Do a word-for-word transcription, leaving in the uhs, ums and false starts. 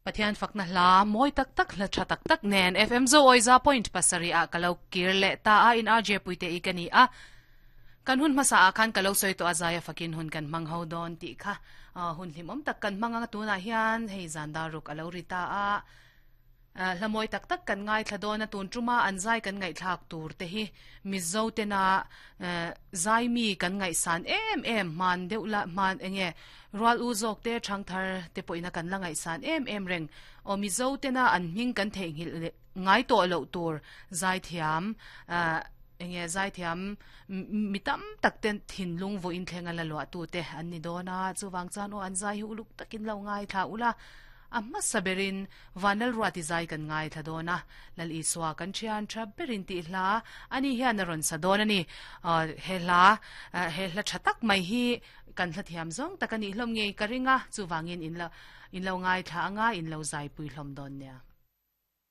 Pathian fakna hla mawi tak tak hla tha tak tak nen F M Zo Oiza point pasarih ah ka lo kir leh ta a in R J Puite i ka ni a kan hun hmasa ah khan ka lo sawi tawh a zaia fakin hun kan hmang ho dawn tih kha hun hlimawm tak kan hmang anga tunah hian hei zan dar ruk a lo ri ta a hla mawi tak tak kan ngaithla dawn a tun tuma an zai kan ngaihthlak tur te hi Mizo tena zai mi kan ngaihsan em em hman deuh la hman enge rual u zawk te thang thar te pawhin a kan la ngaihsan em em reng aw Mizo tena an hming kan theihnghilh leh ngai tawh loh tur zai thiam enge zai thiam mi tam tak ten thinlung vawiin thleng a la luah tu te an ni dawn a chuwang chuan aw an zai hi uluk takin lo ngaithla ula a hmasa berin vanlal ruati zai kan ngaithla dawn a lal Isua kan thian tha berin tih hla ani hian a rawn sa dawn ani he hla he hla tha tak mai hi kan hla thiam zawng tak ani hlawm ngei ka ringa chuwangin in lo in lo ngaithla anga in lo zai pui hlawm dawn nia.